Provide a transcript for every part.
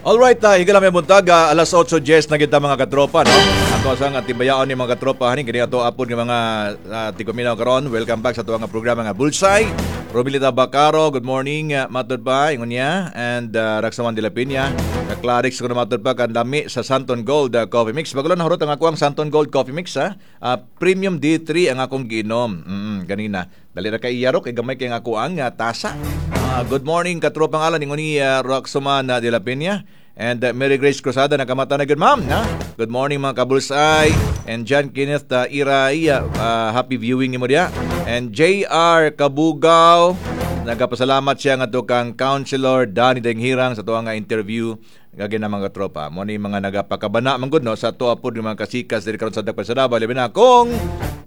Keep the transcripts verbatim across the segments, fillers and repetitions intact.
Alright, uh, higala may buntag, ah, alas otso diyes na kita, mga katropa, no? Ato sa nga timbayaon ni mga katropa hanin kini ato apod nga mga uh, tigpaminaw karon. Welcome back sa ato nga programa nga Bullseye. Romilita Bacaro, good morning, uh, matod pa ingon niya, and uh, Raksaman de la Peña. Kaklarix ko na matod pa kan lami sa Santon Gold uh, Coffee Mix. Bago lang nahurot ang ako ang Santon Gold Coffee Mix, ha. Uh, premium D three ang akong giinom. Mm, ganina. Dali ra kay iyaro kay gamay kay ang ako ang uh, tasa. Uh, good morning, katropang Alan, ingon ni uh, Raksaman uh, de la Peña. And uh, Mary Grace Cruzada, nakamata na good, ma'am. Ha? Good morning, mga kabulsay. And John Kenneth uh, Iray, uh, happy viewing nimo diya. And J R. Kabugaw, nagapasalamat siya nga kang Councilor Danny Denghirang sa tuwa nga interview gagi na, mga tropa. Mo ni mga nagapakabana man gud, no, sa tuwa pod mga kasikas diri karon sa Dakpan sa Davao, labi na kung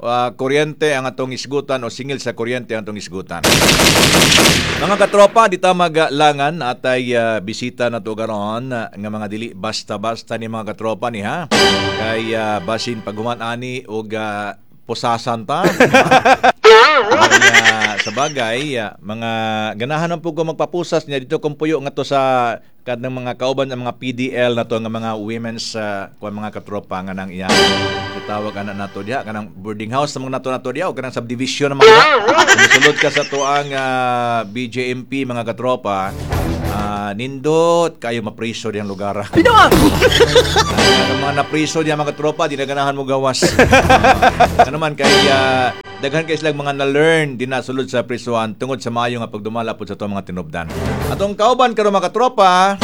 uh, kuryente ang atong isgutan o singil sa kuryente ang atong isgutan. Mga katropa, di ta maglangan atay uh, bisita na to karon uh, nga mga dili basta-basta ni mga katropa ni, ha. Kay uh, basin paghuman ani og uh, pusasan ta. Kaya sa bagay, uh, mga ganahan man po ko magpapusas niya dito kung puyo nga to sa kadnang mga kauban ng mga P D L na to nga mga women's uh, kuan, mga katropa, nga nang iya gitawag ana nato diha kanang boarding house sa mga nato nato diha o kanang subdivision ng mga musulod ka sa tuang uh, B J M P, mga katropa, uh, nindot kayo mapriso diyang lugar. Ang mga napriso diya, mga katropa, di na ganahan mo gawas. Uh, ano man kay uh, daghan kay silang mga na-learn din na sulod sa prisuhan tungod sa maayo nga pagdumala pod sa atong mga tinubdan. Atong kauban karon, mga katropa,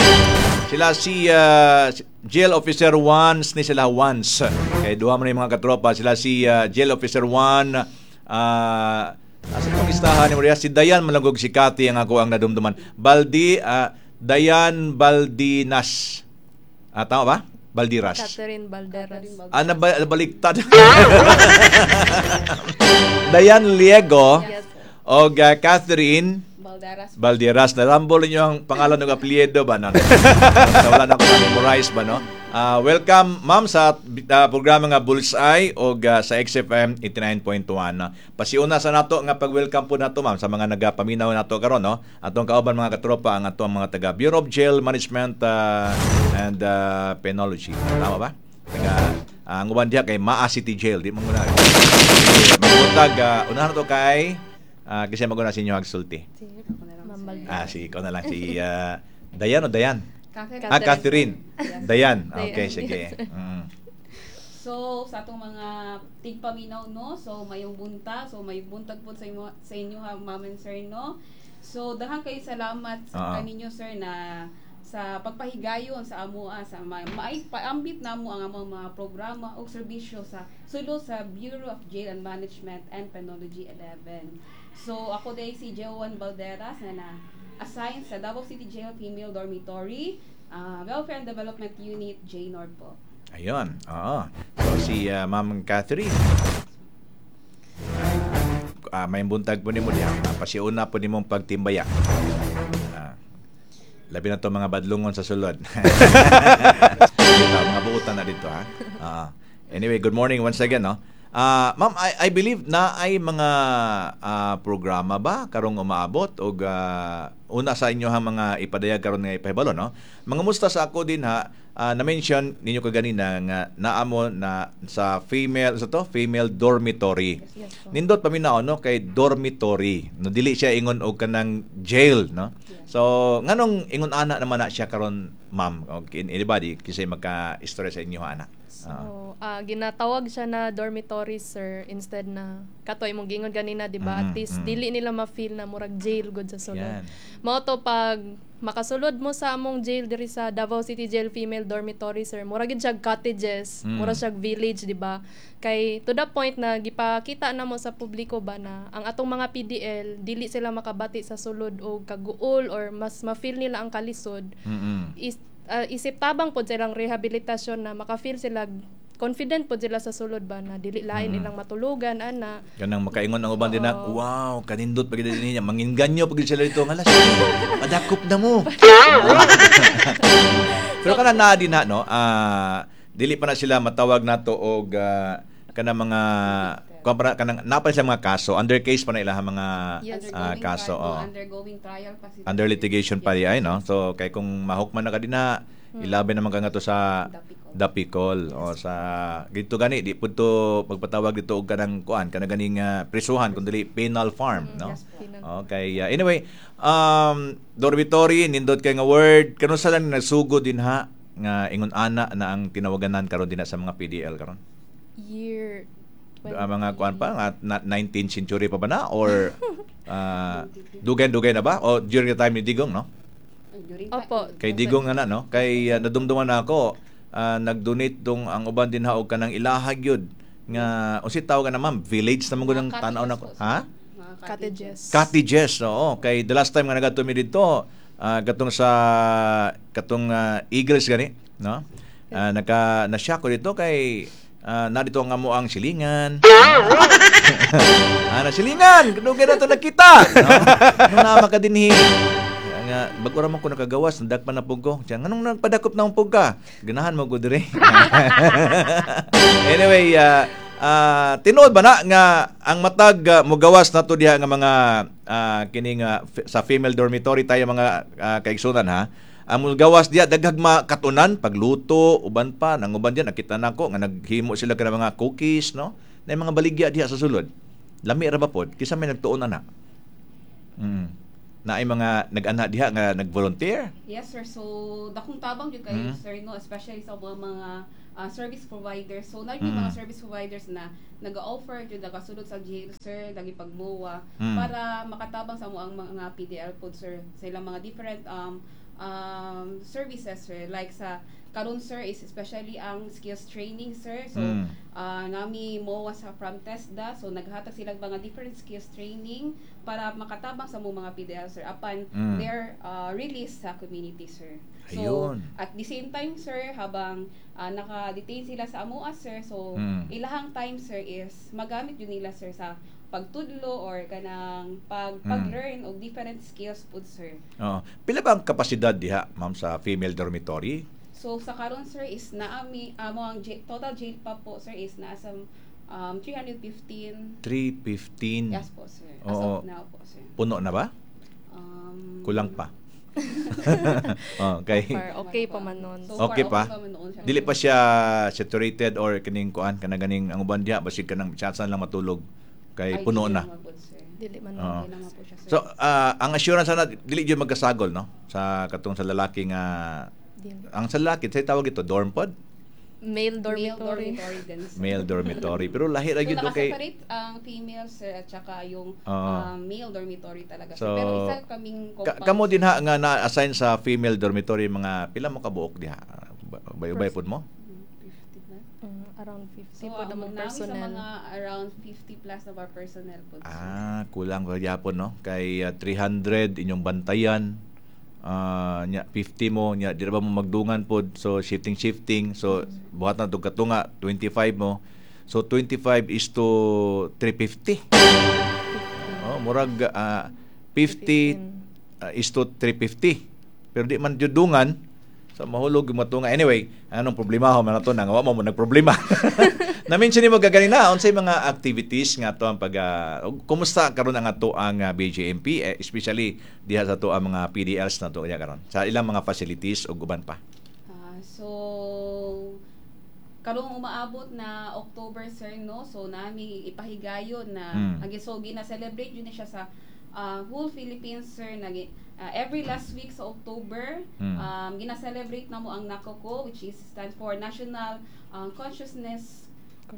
sila si uh, Jail Officer once ni sila once. Kay duha man ni, mga katropa, sila si uh, Jail Officer one, uh, asa tong istahan ni Maria, si Dayan Malangog, si Kati ang ako ang nadumduman. Baldi uh, Dayan Baldinas. Ah, tama ba? Baldiras. Catherine Balderas. Ah, naba- nabaliktad. Dayan Liego Yes. o uh, Catherine Balderas. Balderas. Narambol ninyo ang pangalan ng apelyido ba? No? Sa wala na ako na-memorize ba, no? Ah, welcome, ma'am, sa uh, programa nga Bullseye o uh, sa X F M eighty-nine point one. Pasiuna sa nato nga pag-welcome po nato, ma'am, sa mga nagapaminaw nato karon, no. Atong kauban, mga katropa, ang atong mga taga Bureau of Jail Management uh, and uh, Penology. Tama ba? Taga uh, ang uban diha kay Maa City Jail, di mo muna. Magbutag, uh, unahan to kay uh, kasi maguna sa inyo agsulti. Ma'am Balderas. Ah, si ikaw na lang, si uh, Dayan o Dayan? Catherine. Ah, Catherine. Dayan. Okay, Dayan, sige. yes. Mm. So, sa atong mga tigpaminaw, no, so mayong buntag, so mayong buntag po sa inyo, sa inyo ha, ma'am and sir, no. So, daghan kayo salamat Oo. sa kaninyo, sir, na sa pagpahigayon sa amoa sa ma maay paambit namo ang among mga programa o serbisyo sa sulod sa Bureau of Jail and Management and Penology eleven. So ako day si Joan Balderas na na assign sa Davao City Jail Female Dormitory, ah, Welfare and Development Unit J Nord po. Ayun. Oo. So, si uh, Ma'am Catherine. Ah, may buntag po nimo diha. Ah, pasiuna po nimong pagtimbaya. Ah, labi na to mga badlungon sa sulod. Dito, mga buutan na dito, ha. Ah, anyway, good morning once again, no. Ah, ma'am, I, I believe na ay mga ah, programa ba karong umaabot og ah, una sa inyo ha mga ipadayag karon nga ipahibalo, no? Mga musta sa ako din ha, ah, na-mention ninyo kaganina nga naamo na sa female sa to female dormitory. Yes po. Nindot paminaw, no, kay dormitory. No, dili siya ingon og kanang jail, no. So nganong ingon ana naman na siya karon, ma'am, og anybody kisay magka-istorya sa inyo ana? So, Ah. ah, ginatawag siya na dormitory, sir, instead na kato imong gingon ganina, di ba? Mm, At least mm. dili nila ma-feel na murag jail gud sa sulod. Yan. Mao to pag makasulod mo sa among jail diri sa Davao City Jail Female Dormitory, sir, mura gid siya cottages, Mm. mura siya village, di ba? Kay to the point na gipakita na mo sa publiko ba na ang atong mga P D L dili sila makabati sa sulod og kaguol or mas ma-feel nila ang kalisod Mm-mm. is, ah, isip tabang pod silang rehabilitasyon na maka-feel sila confident pod sila sa sulod ba na dili lain Mm. ilang matulugan ana. Kanang makaingon ang uban din na, Oo. "Wow, kanindot pag niya, manginganyo pag sila dito, ngalas, madakop na mo." Pero kana naa din na, no, ah, dili pa na sila matawag nato og ah, kanang mga kuan pa na- kanang napa sila mga kaso, under case pa na ilang mga Yes. ah, Undergoing kaso, trial, oh. undergoing trial pa sila. Under litigation pa di ay, no? So kay kung mahukman na ka din na, Ilabi naman ka nga to sa Dapicol. Dapicol o sa dito gani di pud to pagpatawag dito og kanang kuan kana ganing uh, prisuhan kun dili penal farm, no? Yes po. Penal. Okay, uh, anyway, um dormitory, nindot kay nga word, kanus-a lang nagsugod din ha nga ingon ana na ang tinawaganan karon din na sa mga P D L karon? Year twenty. Ah, mga kuan pa nga na- nineteenth century pa ba na or uh, dugay-dugay na ba o during the time ni Digong, no? During Opo. Kay Digong nga na, no? Kay uh, nadumduman na ako, ah, nag-donate dong ang uban din ha og kanang ilahag yun nga unsi tawag na, ma'am, village na man gud ang tan-aw na po, sir. Ha? Mga Cottages. Cottages, oo. Kay the last time nga nagadto mi didto, ah, katong sa katong ah, Eagles gani, no? Ah, naka na-shock ko dito kay uh, narito ang amo ang silingan. Ah, na silingan, dugay na to nakita, no? Nung naa ka dinhi. Nga bag-o ra man ko nakagawas, nadakpan na pug ko. Siya, nganong nagpadakop na pug ka? Ganahan mo ko diri. Anyway, ah ah, tinuod ba na nga ang matag uh, mugawas na to diha nga mga ah, kining ah, f- sa female dormitory tayo, mga ah, kaigsunan ha? Ang mugawas diha daghag makatunan, pagluto, uban pa nang uban diha, nakita nako nga naghimo sila kana mga cookies, no, na mga baligya diha sa sulod. Lami ra ba pod? Kinsa may nagtuon ana mm. Na ay mga nag-ana diha nga nag-volunteer? Yes, sir. So, dakong tabang jud kayo, Mm. sir, no? Especially sa mga mga ah, service providers. So, na yung Mm. mga service providers na nag-offer jud nagasulod sa jail, sir, nagipagmuwa Mm. para makatabang sa mo ang mga P D L pod, sir, sa ilang mga different um um services, sir. Like sa karon, sir, is especially ang skills training, sir. So, Mm. ah nami M O A sa from TESDA. So, naghatag sila mga different skills training para makatabang sa mo mga P D L, sir, upon Mm. their uh, release sa community, sir. So, Ayun. at the same time, sir, habang uh, naka-detain sila sa amoa, sir, so Mm. ilahang time, sir, is magamit yun nila, sir, sa pagtudlo or kanang pag Mm. pag-learn og different skills pud, sir. Oo. Pila ba ang kapasidad diha, ma'am, sa female dormitory? So sa karon, sir, is naami amo ang j- total jail pa po, sir, is nasa um, three hundred fifteen. three fifteen. Yes po, sir. As Oo. of now po, sir. Puno na ba? Um, Kulang pa. Okay. Far, okay pa man nun. So Okay far, pa? okay pa man noon siya. Dili pa siya saturated or kining kuan kana ganing ang uban diha basig kanang tsansa lang matulog kay Ay, puno dili na. naman po, sir. Dili man Oo. nun. Okay naman po siya, sir. So, ah, ang assurance ana dili jud magkasagol, no? Sa katong sa lalaki nga Dili. Ang sa lalaki say tawag ito dorm pod, Male male dormitory. dormitory din, sir. Male dormitory. Pero lahi ra So, gyud kay nakaseparate ang female, sir, at saka yung Oo. um, male dormitory talaga, sir. So, Pero isa kaming Ka- compound. kamo din ha nga na-assign sa female dormitory, mga pila mo kabuok diha? Ubay-ubay pod mo? Mm, fifty na. Mm, around fifty So, po ang namang namin sa personnel. mga around fifty plus na our personnel po, sir. Ah, kulang pa gyapon, no? Kay ah, three hundred inyong bantayan. Ah, nya fifty mo nya di ra ba mo magdungan pod, so shifting shifting, so buhat na tug katunga twenty-five mo, so twenty-five is to three fifty. Oh, murag ah, fifty ah, is to three fifty, pero di man jud dungan, so mahulog yung matunga. Anyway, anong problema ho man ato na nga wa mo mo nagproblema. Na-mention nimo gaganina unsay mga activities nga ato ang pag ah, ug kumusta karon ang ato ang ah, B J M P, eh, especially diha sa ato ang mga P D Ls na to karon sa ilang mga facilities ug uban pa? Ah, so karong umaabot na October, sir, no, so nami ipahigayon na Mm. ang so gina-celebrate yun na siya sa ah, whole Philippines, sir, nagi ah, every last week sa October. Mm. um, gina-celebrate na mo ang NACOCO, which is stands for National ah, Consciousness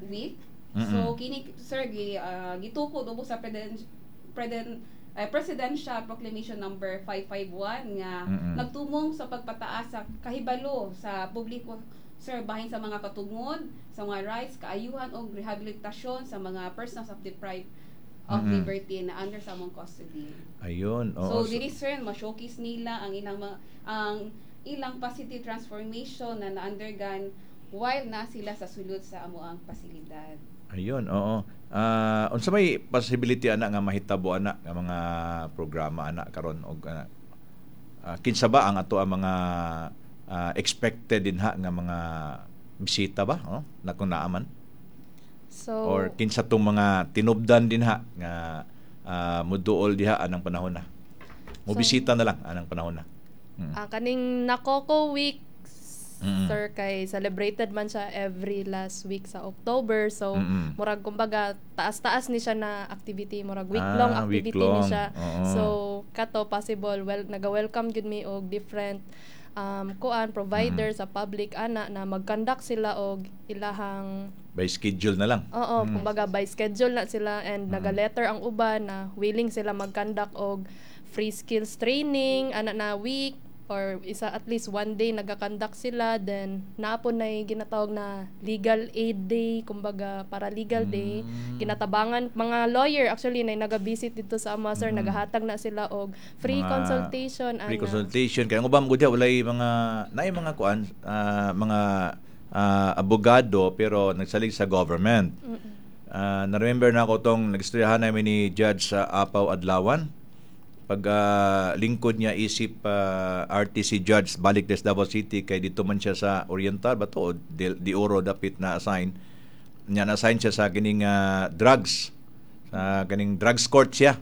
Week. So Mm-mm. kini, sir, gi, ah, gitukod ubos sa president president eh, Presidential Proclamation number five fifty-one nga Mm-mm. nagtumong sa pagpataas sa kahibalo sa publiko, sir, bahin sa mga katungod, sa mga rights, kaayuhan og rehabilitasyon sa mga persons of deprived of Mm-mm. liberty na under sa among custody. Ayun, oo. So diri, sir, ma-showcase nila ang ilang mga, ang ilang positive transformation na na-undergone while na sila sa sulod sa amoang pasilidad. Ayun, oo. Ah, unsa may possibility ana nga mahitabo ana nga mga programa ana karon og ah, ah, kinsa ba ang ato ang mga ah, expected din ha nga mga bisita ba, oh, na kung naaman So, or kinsa tong mga tinubdan din ha nga ah, muduol diha anang panahon na? Mobisita na lang anang panahon na. Mm. Ah, kaning Nakoko Week Mm-mm. sir, kay celebrated man siya every last week sa October. So Mm-mm. murag kumbaga taas-taas ni siya na activity, murag week-long Ah, activity week-long. ni siya. Oo. So kato possible well naga-welcome gyud mi og different um kuan provider Mm. sa public ana na mag-conduct sila og ilahang By schedule na lang. Oo, Mm. kumbaga by schedule na sila and Mm. naga-letter ang uban na willing sila mag-conduct og free skills training ana na week or isa at least one day naga-conduct sila, then naa pod nay ginatawag na legal aid day, kumbaga para legal day, Mm. ginatabangan mga lawyer actually na naga-visit dito sa ama, sir, Mm. nagahatag na sila og free Mga consultation Free ana. Consultation kay ang uban gud walay mga naay mga kuan ah, mga ah, abogado pero nagsalig sa government. Mm-mm. Ah, na-remember na ako tong nagstoryahan namin ni Judge sa Apaw Adlawan. Pag ah, lingkod niya isip ah, R T C Judge balik des Davao City kay dito man siya sa Oriental ba to o De, de Oro dapit na assign niya, na-assign siya sa kining ah, drugs, sa kining drugs court siya.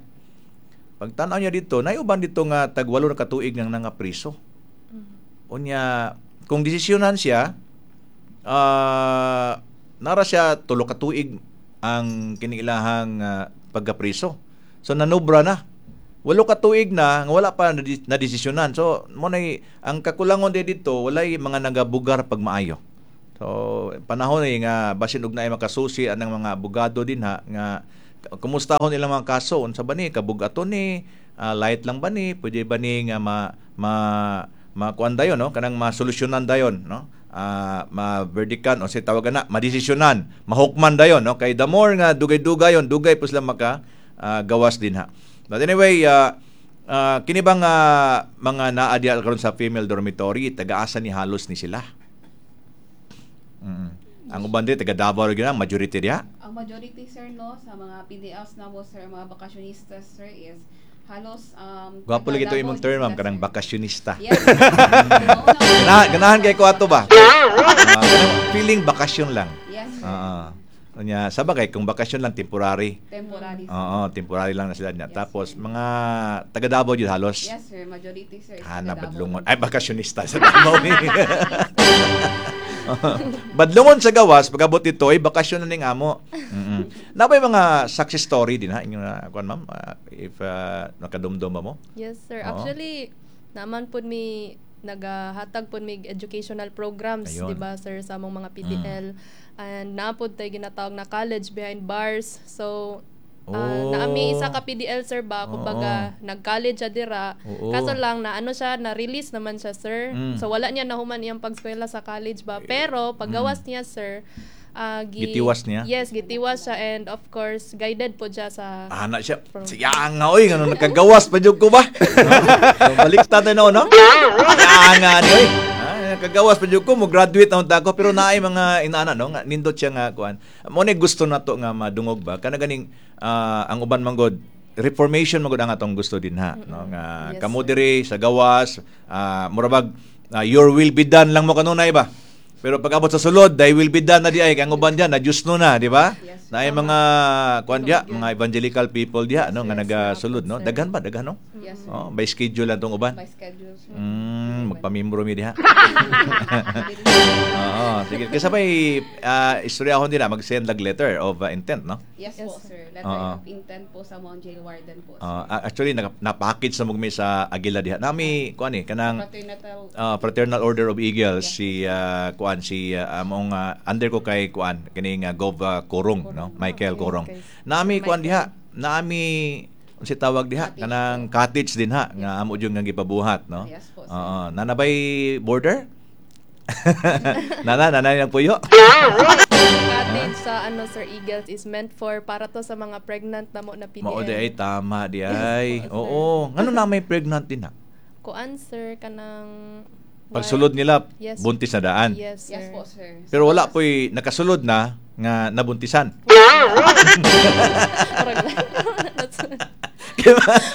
Pagtanaw niya dito, naiuban dito nga tag walo na katuig nang nangapriso. Mm. Unya, kung desisyonan siya, ah nara siya tulo ka tuig ang kiniilahang ah, pagkapriso. So nanubra na. Walo ka tuig na nga wala pa nadi- nadesisyonan. So mo nay ang kakulangon di dito, walay mga nagabugar pag maayo. So panahon ni nga basin og naay makasusi anang mga abogado din ha nga kumustahon ilang mga kaso, unsa ba ni kabugaton ni, ah, light lang ba ni, pwede ba ni nga ma ma makuan dayon, no, kanang masolusyonan dayon, no, ah ma-verdikan o sa tawag na madesisyonan, mahukman dayon, no, kay the more nga dugay-dugay yon, dugay po sila maka ah, gawas din ha. But anyway, ah ah, kini bang ah, mga naa diha karon sa female dormitory, taga-asa ni halos ni sila mm Ang uban di taga Davao ra gyud ang majority diha. Ang majority, sir, no, sa mga P D Ls na mo, sir, mga bakasyonista, sir, is halos um Gwapo lagi taga to imong Davao term, ma'am, sila, kanang sir. bakasyonista. Yes, sir. Ganahan, ganahan kay ko ato ba? Ah, kanang feeling bakasyon lang. Yes, sir. Oo. Unya, sa bagay kung bakasyon lang, temporary. Temporary, sir. Oo, temporary lang na sila niya. Yes, Tapos sir. mga taga Davao jud halos. Yes, sir. Majority, sir, is Kana taga Davao. badlungon. Ay, bakasyonista sa Davao ni. Badlungon sa gawas, pagabot dito ay bakasyon na ning amo. Mm. Naa bay mga success story din ha inyo na kuan, ma'am, Ah, if uh, nakadumdum ba mo? Yes, sir. Oo. Actually, naman pud mi nagahatag pud mig educational programs, Ayun. di ba, sir, sa among mga P D L. And naa pud tay ginatawag na college behind bars. So, ah, Oh. naami isa ka P D L, sir, ba, kumbaga Oo. nag-college siya dira. Oo. Kaso lang na ano siya, na-release naman siya, sir. Mm. So wala niya nahuman iyang pagskwela sa college ba. Pero paggawas niya, sir, ah, gi- Gitiwas niya? Yes, gitiwas siya and of course guided po siya sa Ana siya. From- Siya nga oy, ngano nakagawas pa jud ko ba? So, baliktad na no, no? Siya nga ni oy. Ah, nakagawas pa jud ko, mo graduate na unta ko pero naay mga inana, no, nga nindot siya nga kuan. Mo ni gusto nato nga madungog ba kana ganing ah, ang uban man god reformation man gud ang atong gusto din ha, no, nga Yes, kamo sir. diri sa gawas, ah, murabag ah, your will be done lang mo kanunay ba. Pero pag abot sa sulod, thy will be done na di ay kay ang uban diyan na Diyos no na, di ba? Yes. Naay mga kuan diya, mga evangelical people diya, no, nga Yes, nagasulod, no. sir. Daghan ba, daghan, no? Yes, sir. Oh, by schedule lang tong uban. By schedule, sir. Mm, magpamembro mi diha. Oo, sige. Kasi may uh, istoryahon din na mag-send lag letter of uh, intent, no? Yes, Yes, po, sir. sir. Letter Oo. of intent po sa mga jail warden po, sir. Uh, actually naka, na-package na mo mi sa Agila diha. Nami kuan eh kanang Fraternal uh, Fraternal Order of Eagles, Yes. si uh, kuan si uh, among uh, under ko kay kuan kining uh, Gov uh, Korong, no, Michael Okay, Korong. okay. Nami kuan Michael. diha, nami unsa tawag diha Cottage. Kanang cottage din ha nga amo jud nga gipabuhat, no? Yes po, sir. Oo, nanabay border? Nana, nanay ng puyo? Cottage sa ano, sir, Eagles is meant for para to sa mga pregnant na mo na P D L. Mao di ay, tama di ay. Yes po, sir. Oo, ngano na may pregnant din ha? Kuan, sir, kanang Pagsulod nila, Yes. buntis na daan. Yes, sir. Yes po, sir. Pero wala po'y nakasulod na nga nabuntisan. Murag lang. That's-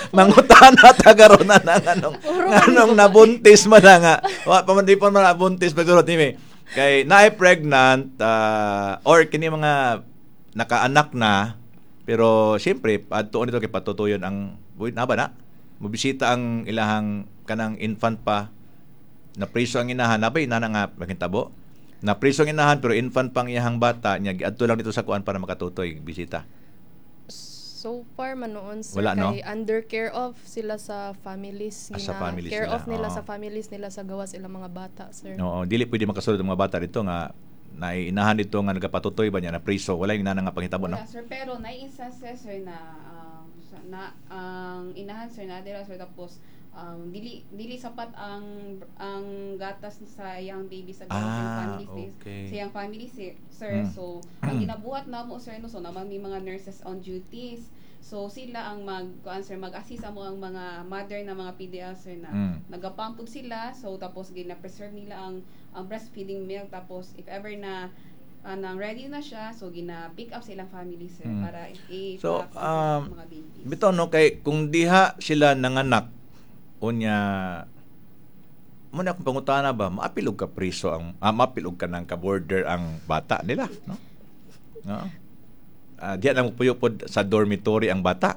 Mangutan na tagaron na nga anong, Puro anong kami nabuntis man na nga. Wa pa man di pa man nabuntis pagsulod ni kay naay pregnant ah, or kini mga nakaanak na, pero siyempre adtuon nito kay patutuyon ang buhi na ba na mobisita ang ilahang kanang infant pa. Napriso ang inahan, nabay inana nga makintabo. Napriso ang inahan pero infant pang iyahang bata niya, giadto lang dito sa kuan para makatutoy bisita. So far man noon, sir, Wala, no? kay under care of sila sa families. Ah, sa Gina- families care nila, of nila oo. sa families nila sa gawas ilang mga bata, sir. Oo, dili pwede makasulod ang mga bata dito nga naiinahan dito nga nagapatutoy ba niya na priso, wala yung inana nga panghitabo, no? Wala, sir, pero na instances, sir, na um, sa- na ang inahan, sir, na dira, sir, tapos um, dili dili sapat ang ang gatas sa iyang baby sa gawas Ah, sa family sis- okay. sa iyang family sir, sir. Mm. So ang ginabuhat namo, sir, no, so naman may mga nurses on duties, so sila ang mag kuan, sir, mag-assist amo ang mga mother na mga P D L, sir, na Mm. nagapump pud sila. So tapos gina-preserve nila ang ang breastfeeding milk, tapos if ever na anang ready na siya, so gina pick up sa ilang family, sir, Mm. para i So, sa um, mga babies. Bitaw, no, kay kung diha sila nanganak unya mo na akong pangutana ba, maapil og ka priso ang ah, maapil og ka ng ka-border ang bata nila, no? No? Ah, diha na mo puyo pod sa dormitory ang bata.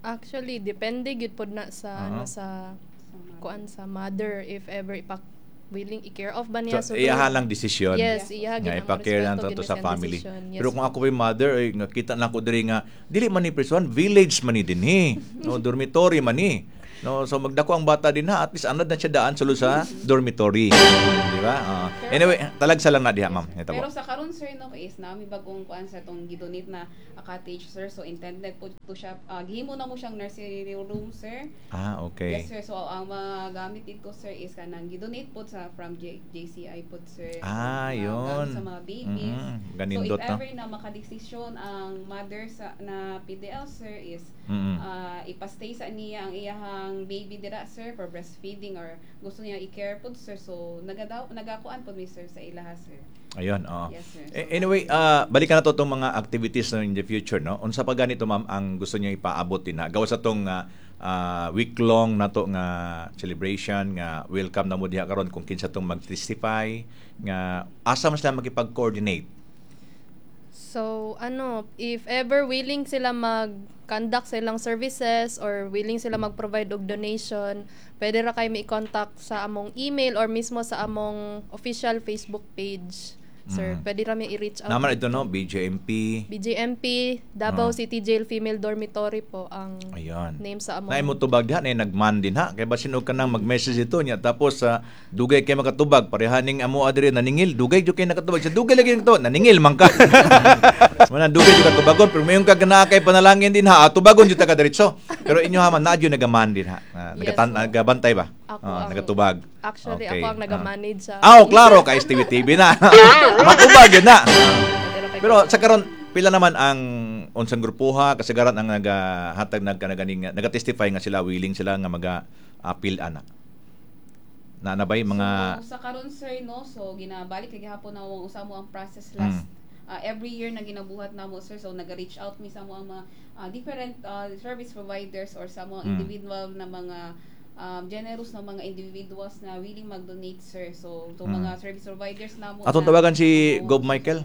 Actually, depende gyud pod na sa Oo. ano sa Sa mother. kuan, sa mother, if ever ipak willing i-care of ba niya. So, iyaha lang desisyon. Yes, iyaha Nga gyud ang ipa-care lang respeto to gyud sa siyang family. decision. Yes. Pero kung ako yung mother, ay nga kita na ko diri nga dili man ni prison, village man ni dinhi. No, dormitory man ni. No, so magdako ang bata din ha, at least anad na siya daan sulod sa dormitory. Di ba? Ah. Anyway, talagsa lang na diha, ma'am. Ito Pero po. sa karon, sir, no, is nami bagong kuan sa tong gidonate na a cottage, sir. So intended po to siya, uh, gihimo na mo siyang nursery room, sir. Ah, okay. Yes, sir. So ang mga gamit dito, sir, is kanang gidonate po sa from J- J C I po, sir. So, Ah, mga yun. gamit sa mga babies. Mm-mm. Ganindot, So if no? ever na makadesisyon ang mother sa na P D L, sir, is Mm-mm. ah, ipastay sa niya ang iyahang baby dira, sir, for breastfeeding or gusto niya i-care po, sir. So nagadaw nagakuan po mi, sir, sa ilaha, sir. Ayun, oo. Yes, sir. Eh, Anyway, ah, balikan na to itong mga activities no in the future, no? Unsa pa ganito, ma'am, ang gusto niyo ipaabot din na? Gawa sa tong ah, ah, week-long na to nga celebration nga welcome na mo diha karon kung kinsa tong mag-testify nga asa man sila makipag-coordinate. So, ano, if ever willing sila mag-conduct sa ilang services or willing sila mag-provide og donation, pwede ra kayo i-contact sa among email or mismo sa among official Facebook page. Sir, Mm. pwede ra mi i-reach out. Naman ito, no? B J M P. B J M P, Davao Ah. City Jail Female Dormitory po ang Ayun. name sa among Naay mo tubag diha, naay nagman din ha. Kay basin og kanang mag-message ito niya tapos sa dugay kay makatubag, parehaning amo adiri naningil, dugay jud kay nakatubag. Sa dugay lagi to, naningil man ka. Mana dugay jud ka tubagon, pero mayon ka ganaa kay panalangin din ha, ah, tubagon jud ta ka diretso. Pero inyo ha man naa jud nagaman din ha. Ah, Yes, nagatan po. nagabantay ba? Ako Ah, ang- nagatubag. Actually, Okay. ako ang Ah. naga-manage sa Ah, oh, klaro kay S T V T V na. Matubag yun na. Pwede ra kayo Pero sa karon pila naman ang unsang grupuha kasagaran ang nagahatag nagkanaganing naga-testify nga sila willing sila nga maga appeal ana? Na na bay mga So, sa karon, sir, no, so ginabalik kay gihapon na ang usa mo ang process last Mm. uh, every year na ginabuhat namo, sir. So naga-reach out mi sa mo ang mga uh, different uh, service providers or sa mga Mm. individual na mga um, generous na mga individuals na willing mag-donate, sir. So to Mm. mga service providers namo Atong na- tawagan si Oo. Gob Michael.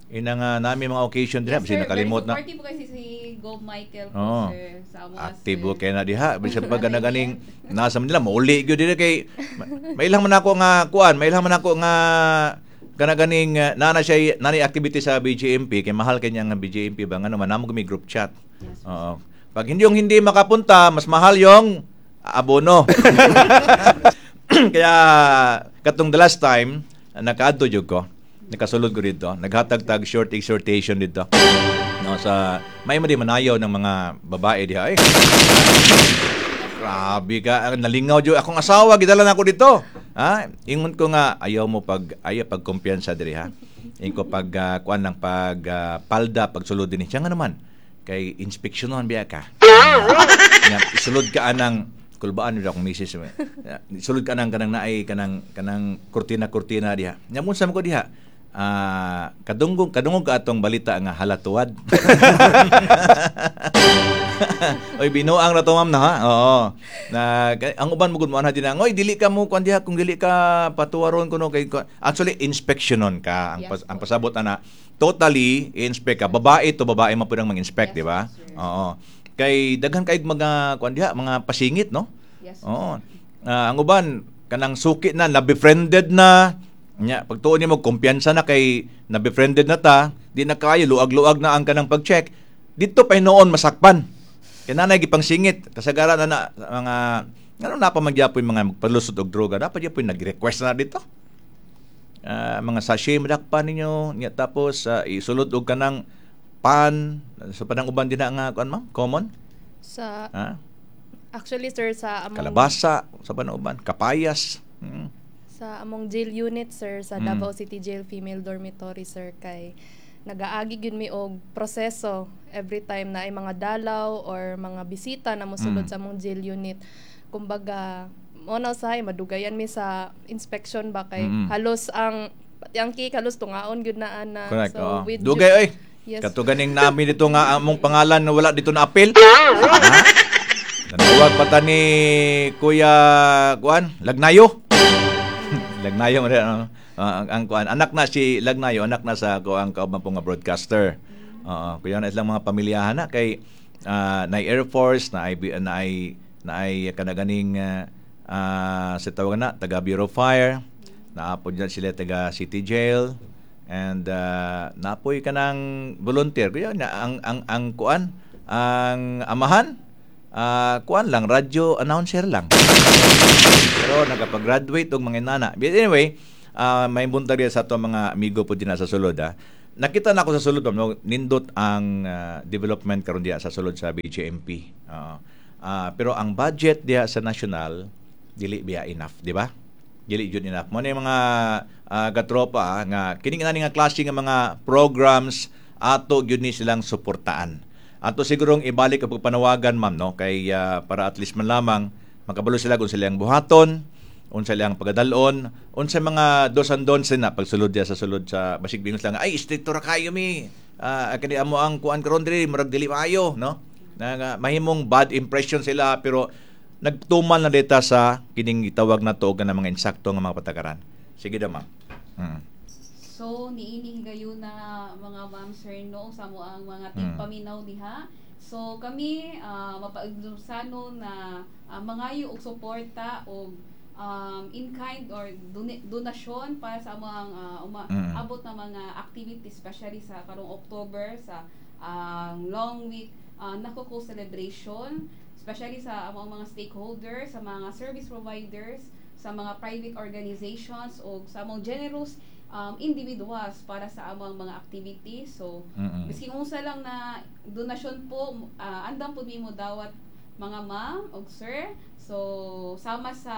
Ina nga nami mga occasion din, Yes, yes, sir. nakalimot na. Very supportive po kasi si Gob Michael po, Oo. sir. Sa amo, Aktibo sir. kay na diha bisan pag naganing nasa Manila mauli gyud dire kay ma- mailang man ako nga kuan, mailang man ako nga kana ganing uh, nana siya nani activity sa B J M P kay mahal kay niya nga B J M P ba ngano man namo kami group chat. Yes, Oo. Pag hindi yung hindi makapunta, mas mahal yung abono. Kaya katong the last time nakaadto jud ko. Nakasulod ko dito, naghatag tag short exhortation dito. No, sa may mo di manayaw ng mga babae diha eh. Grabe ka, ang nalingaw jud akong asawa gidala na ako dito. Ha? Ingon ko nga ayaw mo pag ayaw pag kumpiyansa diri ha. Ingon ko pag ah, kuan lang pag ah, palda pagsulod dinhi. Siya nga naman kay inspeksyonon biya ka. Nya, isulod ka anang kulbaan nila akong misis. Ya, sulod ka anang kanang naay kanang kanang kurtina-kurtina diha. Nya mo sa ko diha. Ah, kadungog kadungog ka atong balita nga halatuad. Oy, binuang ra to, ma'am, na ha. Oo. Na kay- ang uban mo gud mo anha din ang oy dili ka mo kuan diha kung dili ka patuwaron kuno kay kuan." Actually inspectionon ka ang Yes pas, ang po. pasabot ana, totally i-inspect ka. Babae to babae man pud ang mang-inspect, Yes di ba? po, sir. Oo. Kay daghan kay mga kuan diha, mga pasingit, no? Yes. Oo. Ah, ang uban kanang suki na, na-befriended na. Nya, pagtuon nimo kumpiyansa na kay na-befriended na ta, di na kayo luag-luag na ang kanang pag-check. Dito pa hinuon masakpan. Kay nanay gipangsingit kasagaran na, na mga ngano na pa magyapon mga magpalusot og droga, dapat gyapon nag-request na dito. Ah, mga sachet madakpan ninyo nya, tapos ah, isulod og kanang pan sa panang uban din na nga kuan, ma'am, common. Sa Ha? Actually, sir, sa among Kalabasa sa panang uban, kapayas mm. Sa among jail unit, sir, sa Mm. Davao City Jail Female Dormitory, sir, kay nagaagi gyud mi og proseso every time na ay mga dalaw or mga bisita na mosulod Mm. sa among jail unit. Kumbaga, mo na usahay madugayan mi sa inspection ba kay Mm. halos ang pati ang cake halos tungaon gyud na ana. Correct. So Oo. with Dugay oy. Yes. Kato ganing nami dito nga among pangalan na wala dito na apil. Ha? Nanawag pa ta ni Kuya kuan, Lagnayo. Lagnayo man ano, ah, ang, ang kuan, anak na si Lagnayo, anak na sa kuan kauban po nga broadcaster. Oo, kuya na silang mga pamilyahan na kay ah, na Air Force, na ay na ay na ay kanaganing uh, uh, sa tawag na taga Bureau of Fire, naapod dyan sila taga City Jail and uh, napoy kanang volunteer kuya na ang ang ang kuan, ang amahan, ah, kuan lang, radyo announcer lang, pero nakapag-graduate og mga inana. But anyway, ah, may buntag diya sa ato mga amigo po din sa sulod, ah. Nakita na ako sa sulod, ma'am, no, nindot ang ah, development karon diya sa sulod sa B J M P. Oo. Ah, pero ang budget diya sa national dili biya enough, di ba? Dili jud enough. Mo na yung mga ah, katropa ah, nga kini nga nga klase nga mga programs ato gyud ni silang suportaan. Ato sigurong ibalik ang pagpanawagan, ma'am, no, kay ah, para at least man lamang makabalo sila kung sila ang buhaton, unsa ilang pagadalon, unsa mga dos and don'ts na pagsulod diya sa sulod sa basig bingon sila nga ay stricto ra kayo mi. Ah, kani amo ang kuan karon diri murag dili maayo, no? Na nga, mahimong bad impression sila, pero nagtuman na dita sa kining gitawag na to og nga mga insakto nga mga patakaran. Sige daw, ma'am. Mm. So, niini higayon na mga ma'am, sir, no, sa mo ang mga Mm. tigpaminaw diha. So, kami uh, mapaigdusano na uh, mangayo og suporta og um, in kind or doni- donasyon para sa among uh, uma- Mm. abot na mga activities, especially sa karong October sa ang long week uh, Nakuko celebration, especially sa among mga stakeholders, sa mga service providers, sa mga private organizations o sa among generous um, individuals para sa among mga activities. So, Mm-mm. biskin unsa lang na donasyon po, uh, andam po mo dawat, mga ma'am og sir. So, sama sa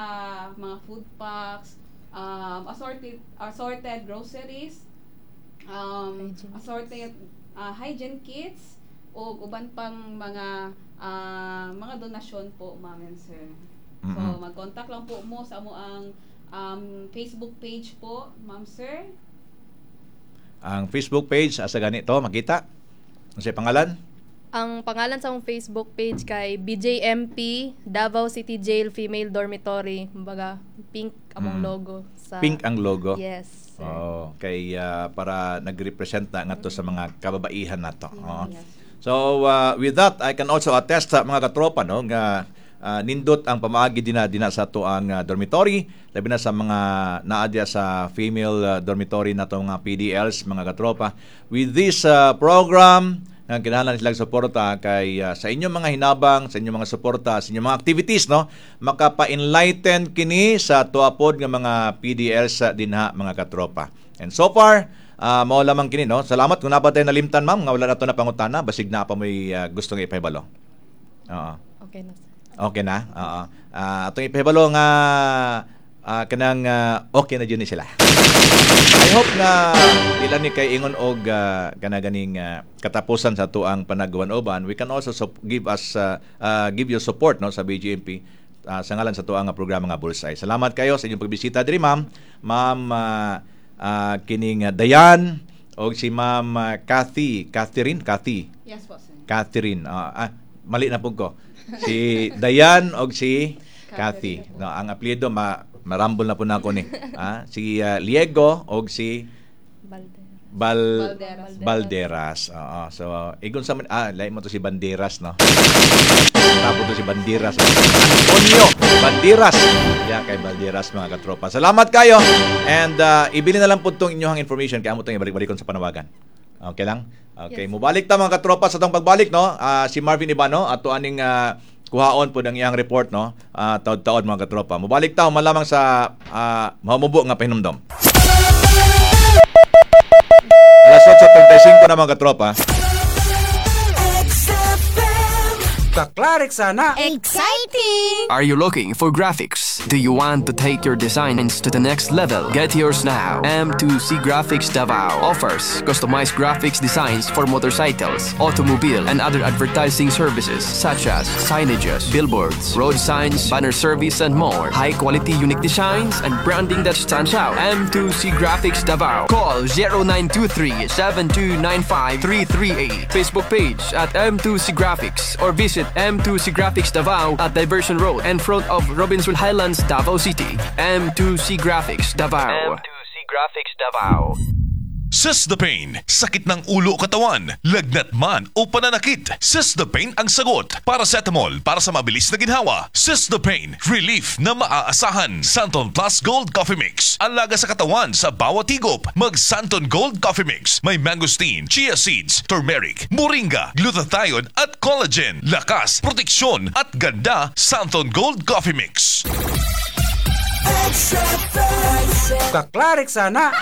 mga food packs, um, assorted assorted groceries, um, Hygiene assorted uh, hygiene kits o uban pang mga ah, mga donasyon po, ma'am and sir. So, Mm-mm. mag-contact lang po mo sa amo ang um, Facebook page po, ma'am, sir. Ang Facebook page asa ganito makita? Unsay pangalan? Ang pangalan sa among Facebook page kay B J M P Davao City Jail Female Dormitory. Kumbaga, pink among Mm. logo sa Pink ang logo. Yes, sir. Oh, kay ah, para nagrepresent na ngadto sa mga kababaihan nato. Oo. Yes. So uh, with that, I can also attest sa mga katropa, no, nga ah, nindot ang pamaagi dina dina sa ato ang ah, dormitory, labi na sa mga naa diya sa female ah, dormitory nato mga P D Ls, mga katropa. With this ah, program nga kinahanglan silang suporta kay ah, sa inyong mga hinabang, sa inyong mga suporta, sa inyong mga activities, no, makapa-enlighten kini sa tuapod nga mga P D Ls sa dinha, mga katropa. And so far, ah, mao lamang kini, no. Salamat kung naa pa tay nalimtan, ma'am, nga wala na to na pangutana, basig naa pa mo'y ah, gustong ipahibalo. Oo. Okay na, sir. Okay na? Oo. Ah, atong ipahibalo nga ah, kanang ah, okay na jud ni sila. I hope na dila ni kay ingon og uh, kana ganing ah, katapusan sa atuang panagwan-uban. We can also sup- give us ah, ah, give you support, no, sa B J M P ah, sa ngalan sa atuang nga programa nga Bullseye. Salamat kayo sa inyong pagbisita diri, ma'am. Ma'am ah, ah, kining ah, Dayan og si Ma'am ah, Kathy, Catherine, Kathy. Yes po, sir. Catherine. Ah, ah, mali na po ko. Si Dayan og si Kathy. Catherine. No, ang apelyido ma marambol na po na ako ni. Ah, si ah, Liego og si Valdera. Bal Balderas. Balderas. Oo. So, igon sa man ah, lain mo to si Banderas, no? Tapos to si Banderas. Antonio Banderas. Yeah, kay Balderas mga katropa. Salamat kayo. And uh, ibili na lang po itong inyong information kaya mo itong ibalik-balikon sa panawagan. Okay lang? Okay, Yes. mubalik ta mga katropa sa atong pagbalik, no? Ah, si Marvin Ibano ato aning ah, kuhaon po ng iyang report, no? Ah, taod-taod mga katropa. Mubalik ta malamang sa uh, mahumubo nga pahinumdom. Alas otso trentay singko na mga katropa. Kaklarik sana. Exciting! Are you looking for graphics? Do you want to take your designs to the next level? Get yours now. M two C Graphics Davao offers customized graphics designs for motorcycles, automobile, and other advertising services such as signages, billboards, road signs, banner service, and more. High quality, unique designs and branding that stands out. M two C Graphics Davao. Call zero nine two three seven two nine five three three eight. Facebook page at M two C Graphics or visit M two C Graphics Davao at Diversion Road in front of Robinson Highlands, Davao City. M two C Graphics Davao. M two C Graphics Davao. Sis the Pain, sakit ng ulo o katawan, lagnat man o pananakit. Sis the Pain ang sagot. Paracetamol para sa mabilis na ginhawa. Sis the Pain, relief na maaasahan. Santon Plus Gold Coffee Mix, alaga sa katawan sa bawat higop. Mag Santon Gold Coffee Mix, may mangosteen, chia seeds, turmeric, moringa, glutathione at collagen. Lakas, proteksyon at ganda, Santon Gold Coffee Mix. Kaklarik sana.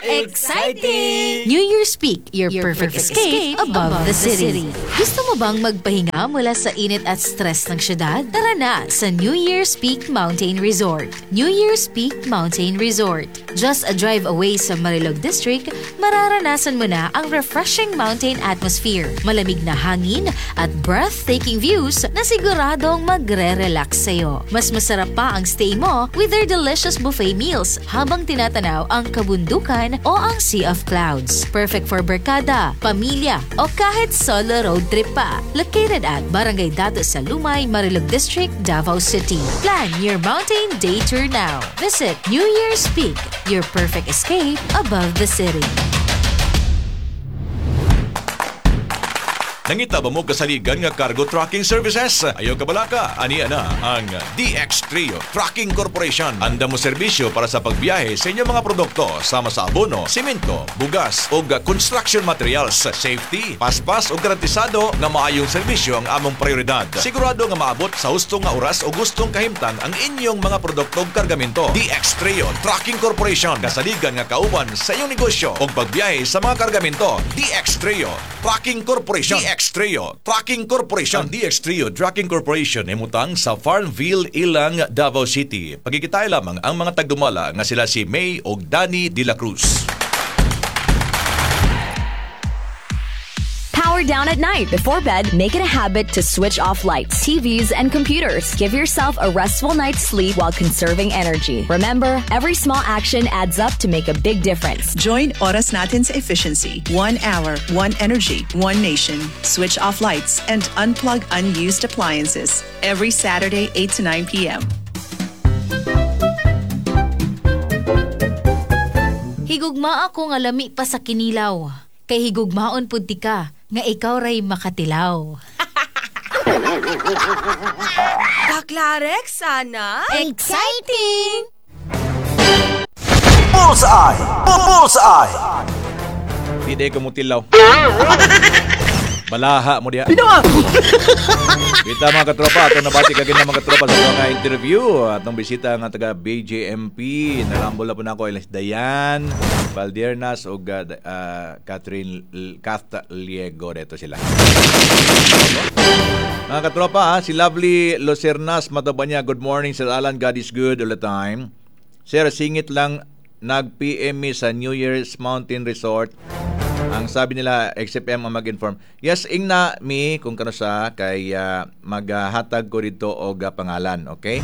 Exciting! New Year's Peak, your, perfect, escape, above, the city. Gusto mo bang magpahinga mula sa init at stress ng syudad? Tara na sa New Year's Peak Mountain Resort. New Year's Peak Mountain Resort. Just a drive away sa Marilog District, mararanasan mo na ang refreshing mountain atmosphere, malamig na hangin at breathtaking views na siguradong magre-relax sa'yo. Mas masarap pa ang stay mo with their delicious buffet meals habang tinatanaw ang kabundukan o ang Sea of Clouds. Perfect for barkada, pamilya, o kahit solo road trip pa. Located at Barangay Dato sa Lumay, Marilog District, Davao City. Plan your mountain day tour now. Visit New Year's Peak, your perfect escape above the city. Nangita ba mo kasaligan nga cargo trucking services? Ayaw kabalaka, aniya na ang D X Trio Trucking Corporation. Anda mo serbisyo para sa pagbiyahe sa inyong mga produkto sama sa abono, simento, bugas o construction materials. Safety, paspas o garantisado nga maayong serbisyo ang among prioridad. Sigurado nga maabot sa husto nga oras o gustong kahimtang ang inyong mga produkto ug kargamento. D X Trio Trucking Corporation. Kasaligan nga kauban sa inyong negosyo o pagbiyahe sa mga kargamento. D X Trio Trucking Corporation. D X Trio Trucking Corporation. Ang D X Trio Trucking Corporation himutang sa Farmville, Ilang, Davao City. Pagkikitay lamang ang mga tagdumala nga sila si May og Danny De La Cruz. Power down at night. Before bed, make it a habit to switch off lights, T Vs, and computers. Give yourself a restful night's sleep while conserving energy. Remember, every small action adds up to make a big difference. Join Oras Natin sa Efficiency. One hour, one energy, one nation. Switch off lights and unplug unused appliances. Every Saturday, eight to nine p m. Higugma ako nga lami pa sa kinilaw. Kay higugmaon pud tika nga ikaw ray makatilaw. Kaklarek sana. Exciting! Bullseye! Bullseye! Hindi ko mutilaw. Balaha mo diha. Kita mga katropa, atong nabati kagin mga katropa sa mga interview. Atong bisita nga taga B J M P. Narambol na po na ako Elis Dayan, Valdiernas ug uh, uh, Catherine L- Kath Liego. Dito sila. Mga katropa, ha, si Lovely Locernas Matabanya. Good morning, Sir Alan. God is good all the time. Sir, singit lang, nag-P M mi sa New Year's Mountain Resort. Ang sabi nila, X F M ang mag-inform. Yes, ingna mi kung kano sa kay uh, maghatag ko dito og uh, pangalan, okay?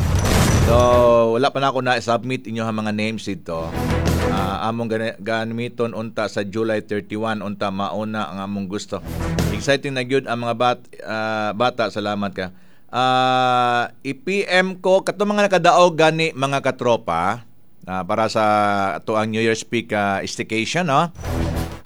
So, wala pa na ako na-submit inyo ang mga names dito. Ah, among gani- gamiton unta sa July thirty-one unta mauna ang among gusto. Exciting na gyud ang mga bat, ah, bata, salamat ka. Ah, i-P M ko katong mga nakadaog gani mga katropa ah, para sa ato ang New Year's Peak ah, staycation, no?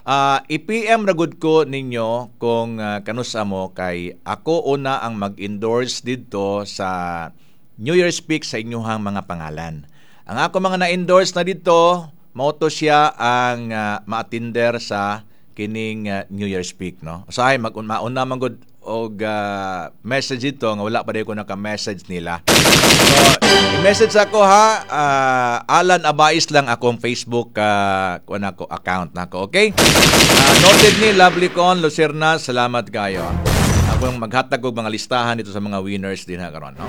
Ah, i-P M ra gud ko ninyo kung uh, kanusa mo kay ako una ang mag-endorse didto sa New Year's Peak sa inyuhang mga pangalan. Ang ako mga na-endorse na dito, mao to siya ang uh, maatinder sa kining uh, New Year's Peak, no. Usahay mag mauna man gud og uh, message dito nga wala pa ko naka-message nila. So, i-message ako ha, uh, Alan Abais lang akong Facebook uh, kuan ako account nako, okay? Uh, noted ni Lovely Con Lucerna, salamat kayo. Ako yung maghatag og mga listahan dito sa mga winners din ha karon, no?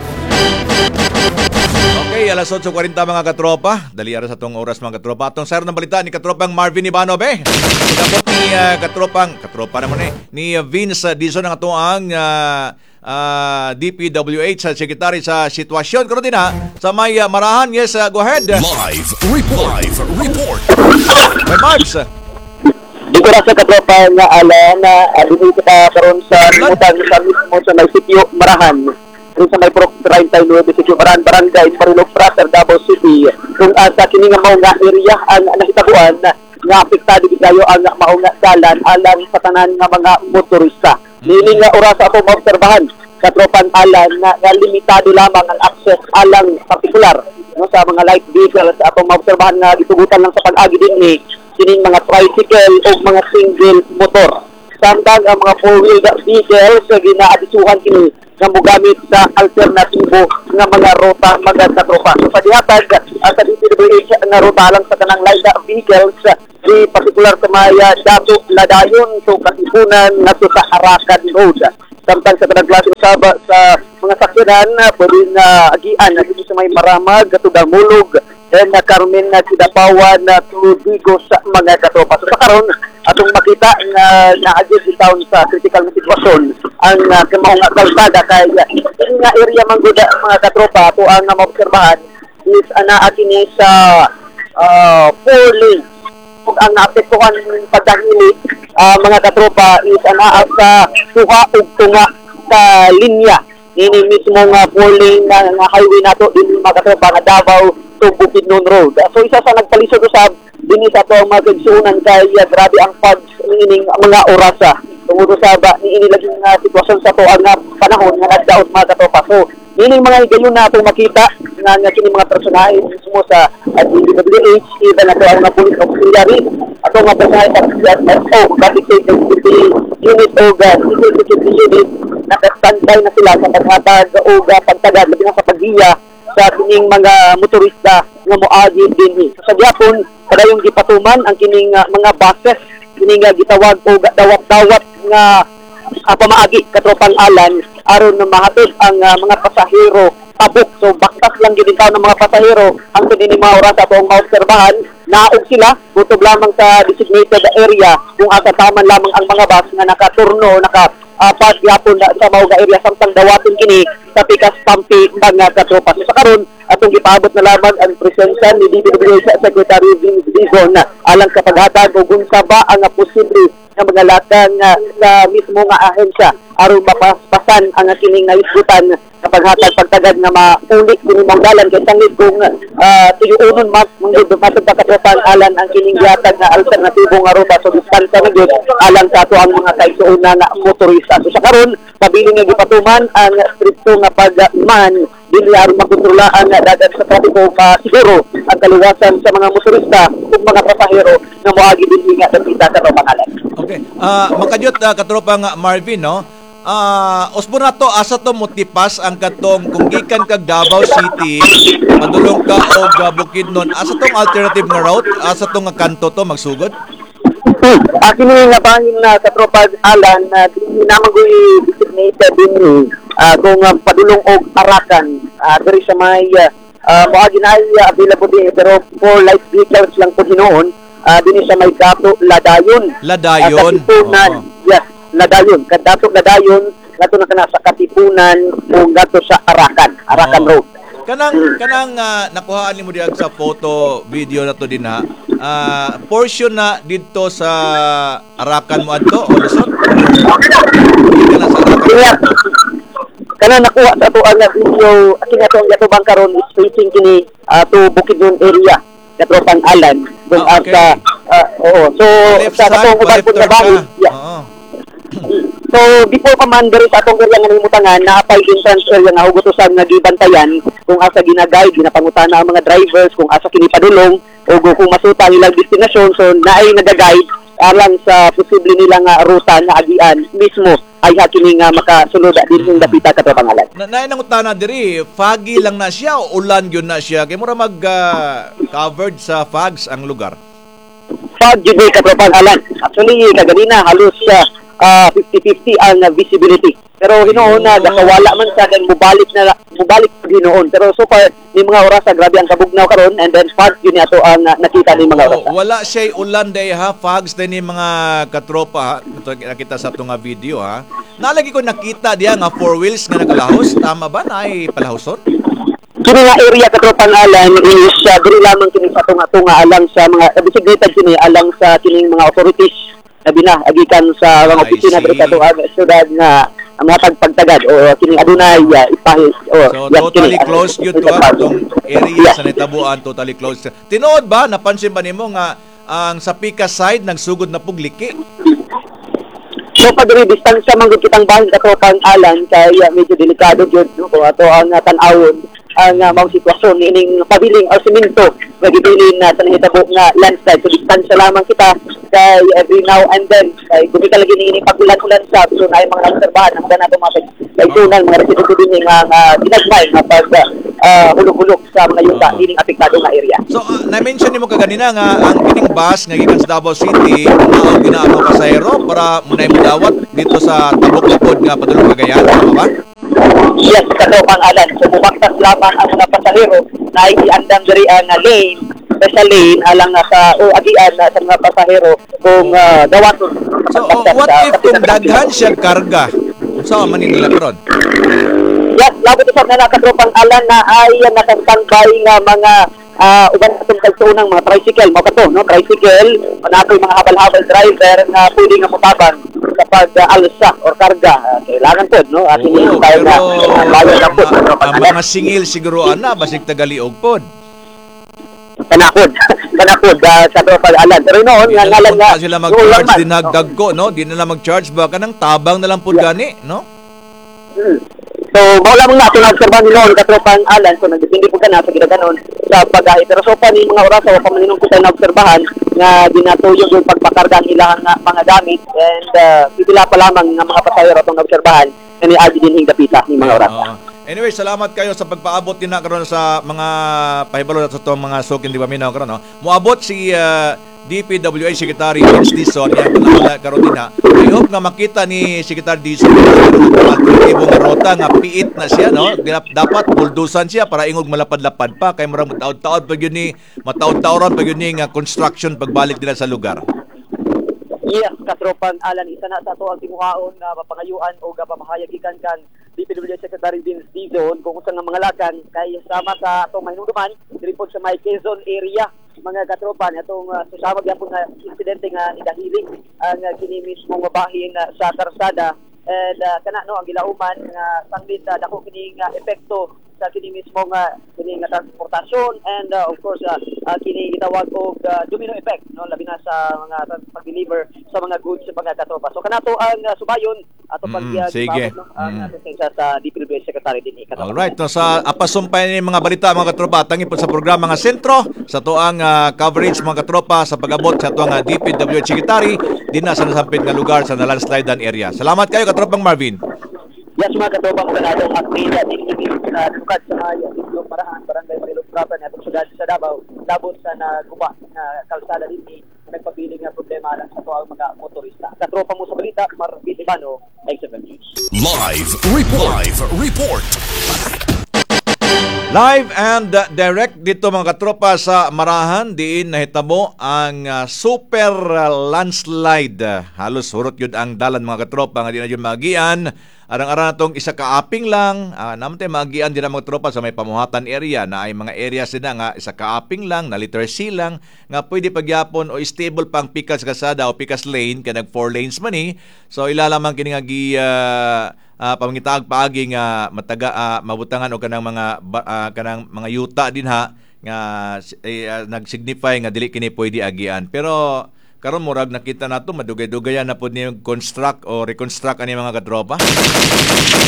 Okay, alas otso kwarenta mga katropa. Dali ara sa tong oras, mga katropa. Atong sayro ng balita ni katropang Marvin Ivanov eh. Tapos ni uh, katropang, katropa naman eh, ni uh, Vince Dizon ang atoang uh, uh, D P W H sa secretary sa sitwasyon karon din ha sa may uh, Marahan. Yes, uh, go ahead. Live report. Live report. May Marbs. Dito ra sa katropa nga ala na uh, dito ka karon sa limutan sa mismo sa may sitio Marahan. Dito sa may Purok thirty-nine sitio Marahan, Barangay Marilog Frater, Davao City. Kung asa kini nga mao nga area ang nahitabuan nga apektado gid kayo ang mao nga dalan alang sa tanan nga mga motorista. Niini nga oras ako maobserbahan, katropan Alan, na, nga limitado lamang ang access alang partikular, no, sa mga light vehicles. Atong maobserbahan nga gitugutan lang sa pag-agi dinhi kining mga tricycle o mga single motor. Samtang ang mga four-wheel vehicles ginaadisuhan kini nga mogamit sa alternatibo nga mga ruta, mga katropa. So sa gihatag uh, sa D P W H nga ruta lang sa kanang light vehicles di partikular sa may uh, Dato Ladayon to Katipunan ngadto sa Arakan Road. Samtang sa kanang klase usab sa mga sakyanan, pwede na agian na dito sa may Maramag, to Damulog, and na Carmen na Kidapawan na to Digos sa mga katropa. So sa karon atong makita nga naagi taon sa critical na sitwasyon ang uh, mao nga kalsada kay uh, kini nga area man gud, mga katropa, ato ang uh, maobserbahan is anaa kini sa uh, four lanes ug ang naapektuhan pagdahili, uh, mga katropa, is anaa sa duha ug tunga sa linya nini mismo nga four lane na, nga highway nato din, mga katropa, nga Davao to Bukidnon Road. So isa sa nagpalisod usab dinhi sa ato ang mga kaigsuonan kay uh, grabe ang fog niining mga orasa tungod sa ba niini lagi nga sitwasyon sa ato ang uh, panahon nga nagdaot, mga katropa. So niining mga higayon na atong makita nga nga kini mga personahe mismo sa uh, D P W H, even ato ang mga police auxiliary, ato mga personahe sa C S O, Traffic Safety Unit o uh, Civil Security Unit, naka-standby na sila sa paghatag o uh, pagtagad labi na sa paggiya sa kining mga motorista nga moagi dinhi. So, sa gyapon padayong gipatuman ang kining uh, mga buses, kining uh, gitawag og dawat-dawat nga uh, pamaagi, katropang Alan, aron na mahatod ang uh, mga pasahero tabok. So baktas lang gid ng mga pasahero ang kini mga oras. Atong maobserbahan naog sila kutob lamang sa designated area kung asa taman lamang ang mga bus nga nakaturno, naka uh, park gyapon na sa mao nga area samtang dawaton kini sa Pikas Pampi, mga katropa. So sa karon atong gipaabot na lamang ang presensya ni D P W H Secretary Vince Dizon alang sa paghatag og unsa ba ang posible nga mga lakang uh, sa mismo nga ahensya aron mapaspasan ang kining nahisgutan sa paghatag pagtagad nga mauli kini mong dalan kay sangit kung uh, tuyuonon mas manggod matod pa, katropan Alan, ang kining gihatag nga alternatibo nga ruta, so distansya na gyud alang sa ato ang mga kaigsuonan nga motorista. So sa karon pabilin nga gipatuman ang strikto nga pagman dili aron makontrola ang dagan sa trapiko, pa siguro ang kaluwasan sa mga motorista ug mga pasahero nga moagi dinhi nga dapita sa pangalan. Okay. Ah, makadyot uh, katropa nga Marvin, no? Ah, usbon na to asa to motipas ang katong kung gikan kag Davao City, padulong ka og uh, Bukidnon, asa tong alternative nga route? Asa tong nga kanto to magsugod? Hmm. Uh, kini nga bahin na katropa Alan na uh, naman ko designated din uh, kung uh, padulong og Arakan, uh, diri sa may uh, uh, moagi na ay uh, available din pero for light vehicles lang po hinuon, uh, dinhi sa may Dato Ladayon. Ladayon. Uh, Katipunan. Oo. Yes, Ladayon. Kadato Ladayon ngadto na kana sa Katipunan o ngadto sa Arakan, Arakan Oo. Road. Kanang kanang uh, nakuhaan nimo diag sa photo video na to din ha. Ah, portion na didto sa Arakan mo adto o lusot? Kana sa Arakan. Kaya kana nakuha sa ato ang video kini ato ang yatubang karon is facing kini uh, to Bukidnon area, katropang Alan, kung Ah, okay. asa Ah, oo. So Left sa side, katong uban pa-left pud turn nga bahin, ka. yeah. Oo. So before pa man diri sa atong area nga nahimutangan, naapay entrance area nga hugot usab nga gibantayan kung asa gina-guide, ginapangutana ang mga drivers kung asa kini padulong o kung masuta ang ilang destinasyon. So naay naga-guide alang sa posible nila nga ruta nga agian mismo ay ha kini nga makasulod dinhing dapita, katropang Alan. Na naay nangutana diri, foggy lang na siya o ulan gyud na siya? Kay mura mag ah, covered sa fogs ang lugar. Fog jud ni, katropang Alan. Actually, kaganina halos uh, fifty-fifty ang uh, visibility. Pero hinuon na gakawala man sa then mubalik na mubalik pud hinuon. Pero so far ni mga orasa, grabe ang kabugnaw karon and then fog yun ato ang uh, nakita ni mga orasa. Oh, wala siya ulan day ha, fogs din ni mga katropa ha. Ito nakita sa atong nga video ha. Nalagi ko nakita diya nga four wheels nga nakalahos, tama ba na ay palahoson? Kini nga area, katropang Alan, is uh, diri lamang kini sa tunga-tunga alang sa mga uh, designated kini alang sa kining mga authorities labi na agikan sa mga I opisina diri see. sa atong syudad nga ang mga tagpagtagad o kining adunay uh, ipahi o So yes, totally kini, closed yun to ha, itong area sa nitabuan, totally closed. Tinuod ba, napansin ba nimo nga ang sa Pika side nagsugod na pugliki? So pag diri distansya man gud kitang bahin, katropang Alan, kay uh, medyo delikado gyud, no, kung ato ang uh, tan-awon ang uh, mao sitwasyon niining pabiling o simento nga gibilin na sa nahitabo nga landslide. So distansya lamang kita kay every now and then kay gumika lagi niini pag-ulan-ulan sa, so naay mga naobserbahan ang nato mga kaigsunan, mga residente dinhi nga nga ginagmay nga pag uh, hulog-hulog sa mga yuta niining apektado nga area. So uh, na-mention nimo kaganina nga ang kining bus nga gikan sa Davao City mao gina ang mga pasahero para munay modawat dito sa Tabuk Lapod nga padulong Cagayan, tama ba? Yes, katropang Alan. So bubaktas lamang ang mga pasahero na iandam diri ang uh, lane, special lane alang nga sa o agian na sa mga pasahero kung uh, dawaton. So oh, what if kung daghan siya karga? Unsa man ni nila karon? Yes, labot usab na katropang Alan na ay nakastandby nga mga uh, uban atong kagsuunang mga tricycle mao kato, no, tricycle na mga habal-habal driver nga pwede nga motabang kapag uh, alsa or karga. Uh, kailangan pod, no, ating Oo, tayo pero na uh, bayan na pod, ang mga singil siguro ana basig tagaliog pod. Kanakod, kanakod uh, sa tropang Alan. Pero noon Di nga na ngalan lang nga pa sila noon mag-charge lang man, din nagdagko, no? Di na lang mag-charge ba kanang tabang na lang pud gani, no? Hmm. So, mao lamang na ato naobserbahan ni noon, katropang Alan. So, nagdepende po ka na sa ginaganon sa pagahi. Pero so pa ni mga oras, wa pa man ko tayo naobserbahan nga ginatuyog yung pagpakarga ang ilang nga mga gamit and uh, pipila pa lamang nga mga pasahero atong naobserbahan nga niagi dinhing dapita ni mga oras. Oo. Anyway, salamat kayo sa pagpaabot din na karon sa mga pahibalo sa itong mga sukin di ba minaw karon, no? Moabot si uh, D P W H Secretary Vince Dizon yang panahon karon din ha. I hope nga makita ni Secretary Dizon ang alternatibo nga ruta nga piit na siya, no. Dapat buldusan siya para ingog malapad-lapad pa kay murag mataod-taod pag yun ni mataod-taoron pag yun ni nga construction pagbalik nila sa lugar. Yes, katropang Alan, isa na sa ato ang tinguhaon nga mapangayuan o pamahayag gikan kan D P W H Secretary Vince Dizon kung unsa nga mga lakan kay sama sa atong mahinumduman diri pod sa may Quezon area, mga katropa, atong uh, susama gyapon nga insidente nga nidahili ang uh, kini mismo nga bahin uh, sa karsada and uh, kana, no, ang gilauman nga sanglit uh, dako kini nga epekto sa kini mismo nga kini nga transportasyon and uh, of course uh, uh, kini gitawag og uh, domino effect, no, labi na sa mga pag-deliver sa mga goods sa mga katropa. So kanato ang uh, subayon ato pag Mm, sige. no, ang Mm. asistensya sa D P W H Secretary din katropa. Alright, no, sa apasumpay ni mga balita, mga katropa, tangi po sa programa nga sentro sa tuang ah, coverage, mga katropa, sa pag-abot sa tuang uh, D P W H Secretary din na sa nasampit nga lugar sa nalandslidean area. Salamat kayo, katropang Marvin. Yes, mga katropa, mga natong update at uh, lukad sa mga Sitio Marahan, Barangay Marilog Proper, na atong syudad sa Davao, labot sa naguba na kalsada din nagpabiling nga problema lang sa tuang mga motorista. Katropa mo sa balita, Marvin Ibano, X F M News. Live Report. Live Report. Live and uh, direct dito, mga katropa, sa Marahan diin nahitabo ang uh, super uh, landslide. Halos hurot yun ang dalan, mga katropa, nga di na yun magian. Arang-arang natong isa kaaping lang. Uh, naman tayo magian din ang mga tropa sa may pamuhatan area na ay mga areas din na nga isa kaaping lang na letter C lang nga pwede pagyapon o stable pang pikas kasada o pikas lane kay nag four lanes man eh. So ilalamang kini nga gi uh, uh, pamangitaag paagi nga mataga uh, mabutangan og kanang mga ba- ah, kanang mga yuta din ha nga eh, uh, nagsignify nga dili kini pwede agian. Pero karon murag nakita nato madugay-dugayan na pud ni construct o reconstruct ani mga katropa.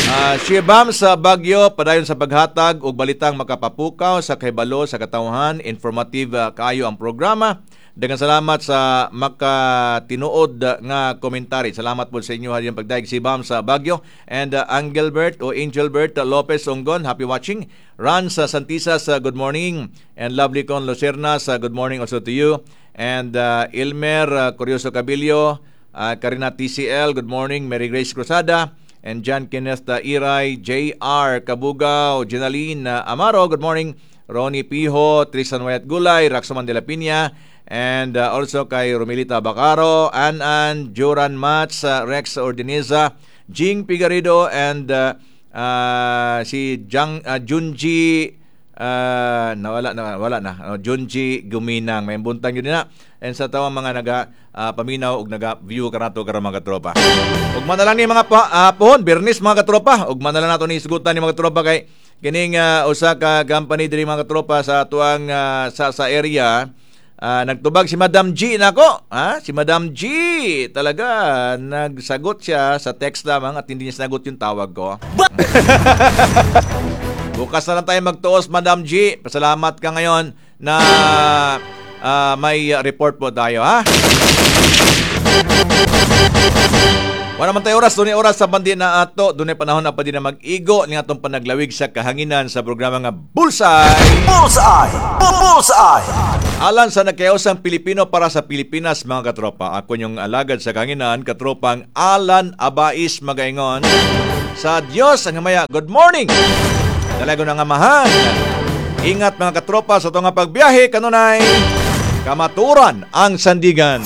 Uh, Shibam sa Bagyo padayon sa paghatag og balitang makapapukaw sa kahibalo sa katawhan, informative uh, kaayo ang programa. Daghang salamat sa makatinuod nga komentary. Salamat po sa inyo hadiyang pagdaig si Bam sa Bagyo and uh, Angelbert o Angelbert Lopez Onggon, happy watching. Ran sa Santisa sa good morning and Lovely Con Lucerna sa good morning also to you. And uh, Ilmer uh, Curioso Cabilio, uh, Karina T C L, good morning. Mary Grace Cruzada and John Kenneth uh, Iray, J R Kabugaw, Jenaline uh, Amaro, good morning. Ronnie Piho, Tristan Wayat Gulay, Raxoman de la Piña, and uh, also kay Romilita Bacaro, An-An, Joran Mats, uh, Rex Ordineza, Jing Pigarido, and uh, uh, si Jang, uh, Junji, uh, nawala na, wala na, uh, Junji Guminang. May buntang yun na. And sa tawang mga naga uh, paminaw og naga-view kanato karon mga katropa. Ugma na lang ni mga pa, uh, pohon, Birnis mga katropa. Ugma na lang nato ni isgutan ni mga katropa kay kining uh, usa ka company diri mga katropa sa tuang uh, sa sa area. Uh, nagtubag si Madam G nako, ha? Si Madam G talaga nagsagot siya sa text lamang at hindi niya sinagot yung tawag ko. Bukas na lang tayo magtuos, Madam G. Pasalamat ka ngayon na uh, may report po tayo, ha? Wala man tayo oras, dunay oras sa bandi na ato, dunay panahon na pa din na mag-igo ni atong panaglawig sa kahanginan sa programa nga Bullseye! Bullseye! Bullseye! Alan sa nagkayausang Pilipino para sa Pilipinas, mga katropa. Ako yung alagad sa kahanginan, katropang Alan Abais Magaingon. Sa Diyos ang hamaya, good morning! Dalago ng amahan. Ingat mga katropa sa itong pagbiyahe, kanunay, kamaturan ang sandigan.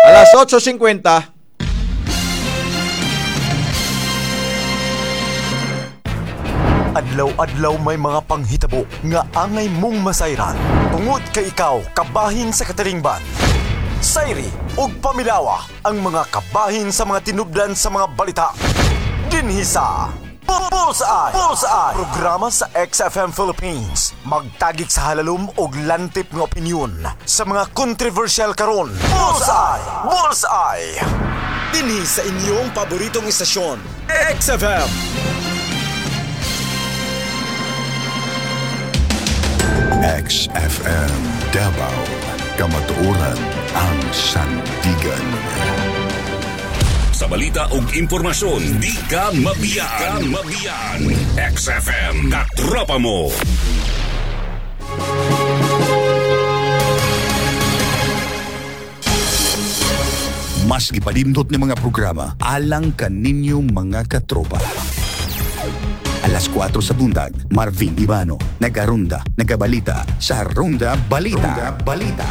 Alas otso singkwenta. Adlaw-adlaw may mga panghitabo nga angay mong masayran. Tungod kay ikaw kabahin sa katilingban. Sayri ug pamilawa ang mga kabahin sa mga tinubdan sa mga balita. Dinhi sa Bullseye! Bullseye! Programa sa X F M Philippines. Magtagik sa halalom og lantip nga opinyon sa mga kontrobersyal karon. Bullseye! Bullseye! Dinhi sa inyong paboritong istasyon, X F M. X F M Davao, kamatuoran ang sandigan. Sa balita ug impormasyon, di ka mabiyaan. Mabiyaan. X F M, katropa mo. Mas gipanindot ni mga programa alang kaninyo mga katropa. Alas kwatro sa buntag, Marvin Ivano, nagarunda, nagabalita sa Ronda Balita. Ronda Balita.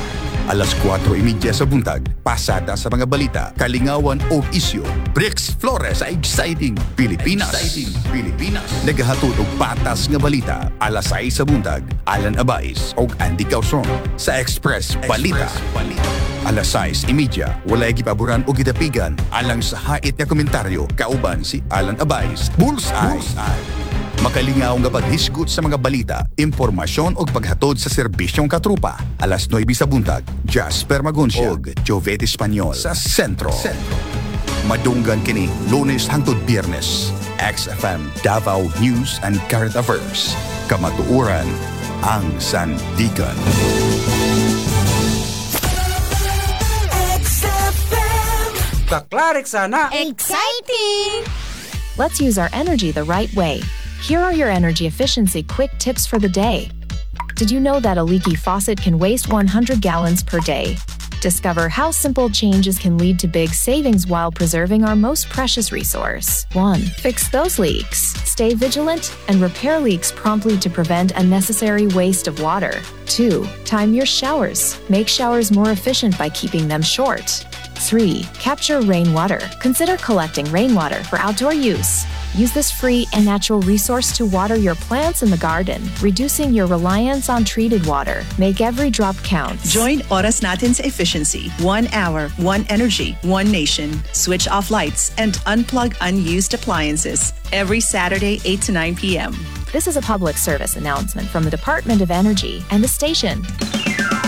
Alas kwatro y media sa buntag, pasada sa mga balita, kalingawan o isyo. Brix Flores sa Exciting Pilipinas. Exciting Pilipinas. Nagahatod og patas nga balita. Alas sais sa buntag, Alan Abais og Andy Causon sa Express Balita. Express Balita. Alas sais y media, walay gipaboran o gidapigan alang sa hait nga komentaryo kauban si Alan Abais. Bullseye. Bullseye. Makalingaw nga paghisgot sa mga balita, impormasyon o paghatod sa serbisyong katrupa. Alas nuwebe sa buntag, Jasper Magoncia og Jovet Espanyol sa Sentro. Sentro. Madunggan kini Lunes hangtod Biyernes. X F M Davao News and Current Affairs. Kamatuoran ang sandigan. X F M. Kaklarik sana. Exciting! Let's use our energy the right way. Here are your energy efficiency quick tips for the day. Did you know that a leaky faucet can waste one hundred gallons per day? Discover how simple changes can lead to big savings while preserving our most precious resource. one. Fix those leaks. Stay vigilant and repair leaks promptly to prevent unnecessary waste of water. two. Time your showers. Make showers more efficient by keeping them short. three. Capture rainwater. Consider collecting rainwater for outdoor use. Use this free and natural resource to water your plants in the garden, reducing your reliance on treated water. Make every drop count. Join Oras Natin sa Efficiency. One hour, one energy, one nation. Switch off lights and unplug unused appliances. Every Saturday, eight to nine p m. This is a public service announcement from the Department of Energy and the station.